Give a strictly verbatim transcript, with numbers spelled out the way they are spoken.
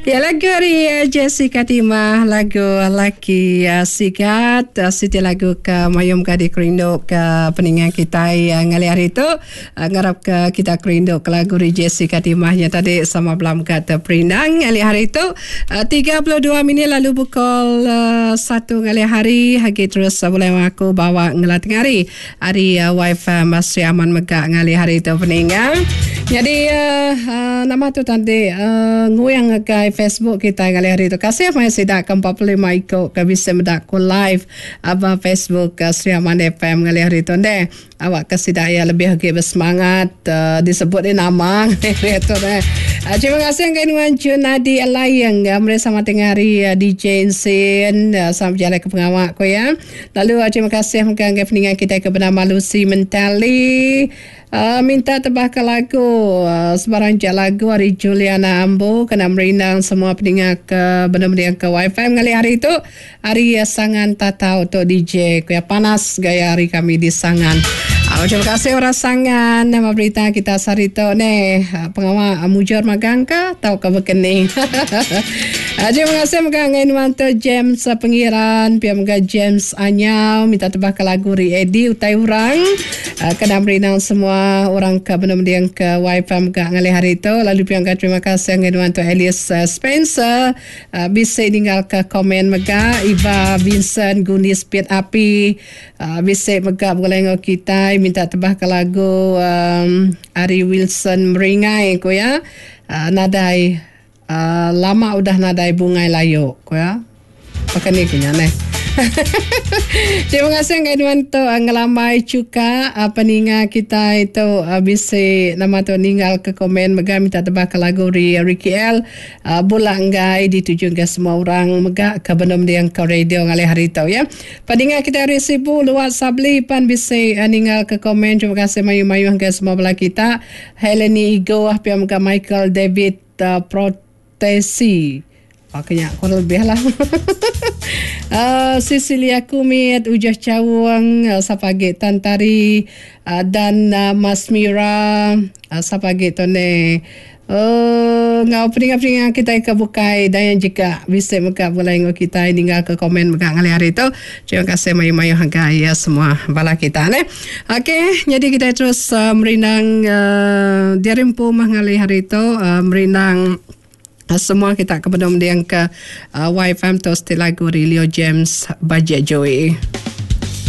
Ya, lagu ari eh, Jessica Timah, lagu Laki eh, Sigat, eh, siti lagu ke mayum ke dikerindu ke peninga kitai ngalih hari tu. Ngarap ke kita kerindu ke lagu ari Jessica Timah nya tadi sama belam ke teperindang ngalih hari tu. Tiga puluh dua minit lalu pukul satu ngalih hari agi terus bulai aku bawa ngela tengah hari ari wifi Sri Aman mega ngalih hari tu peninga. Nyadi nama tu tadi nguing ngagai Facebook kitai ngalih hari tu. Kasih meh sida ke empat puluh lima iku ke bisi meda ku live ba Facebook Sri Aman F M ngalih hari tu ndeh. Awak ke sida iya lebih agi bersemangat disebut dia nama ngalih hari tu neh. Terima kasih ngagai nuan Junadi Laing meri sama tengah hari D J Insin sama bejalai ke pengawa ku iya. Lalu terima kasih mega ngagai peninga kitai ke benama Lucy Mentali. Uh, minta tebah ke lagu uh, sebarang jak lagu ari Juliana Ambu kena merindang semua peninga ke benda-benda ke wifi ngalih hari tu hari uh, Sangan Tatau tu D J ku ya panas gaya hari kami di Sangan. Uh, terima kasih orang Sangan nama berita kita sehari tu ne uh, pengawa uh, mujur magang ke tau ke bekening. uh, terima kasih mega ngai nuan tu James uh, Pengiran pia mega James Anyau minta tebah ke lagu ri Eddie utai orang uh, kena merindang semua orang ke benar-benar ke wifi mega ngalih hari tu. Lalu piang terima kasih ngai nuan tu Alice uh, Spencer uh, bisa ninggal ke komen mega Iva Vincent Gunis Pit Api uh, bisa mega boleh ngau kita minta tebah ke lagu um, Ari Wilson Meringai ku ya uh, nadai uh, lama udah nadai bungai layu ku ya pakai ni kunya neh. Terima kasih ngai nuan tu ngelambai cuka peninga kita itu bisi nama tu ninggal ke komen mega minta tebah ke lagu ri Ricky L bula enggai dituju ke semua orang mega ke benom diang ke radio ngalih hari tu ya. Peninga kita hari Sibu luat Sabli pan bisi ninggal ke komen. Terima kasih mayu-mayu ke semua bala kita. Heleni Igo pia mega Michael David uh, Protesi. Pakainya kurang lebih lah. uh, Cecilia Kumit, Ujah Cawang, uh, Sapagi Tantari uh, dan uh, Mas Mira, uh, Sapagi Tone. Uh, ngau peninga-peninga kita ke bukai dan yang jika bisa mega boleh ngau kita ninggal ke komen mega ngalih hari tu. Terima kasih mayu-mayu harga ya semua bala kita ne. Okey, jadi kita terus uh, merindang uh, diarimpu mah ngalih hari tu uh, merindang semua kita ke bedom diang ke uh, Y F M tu setiap lagu Leo James Bajek Joey.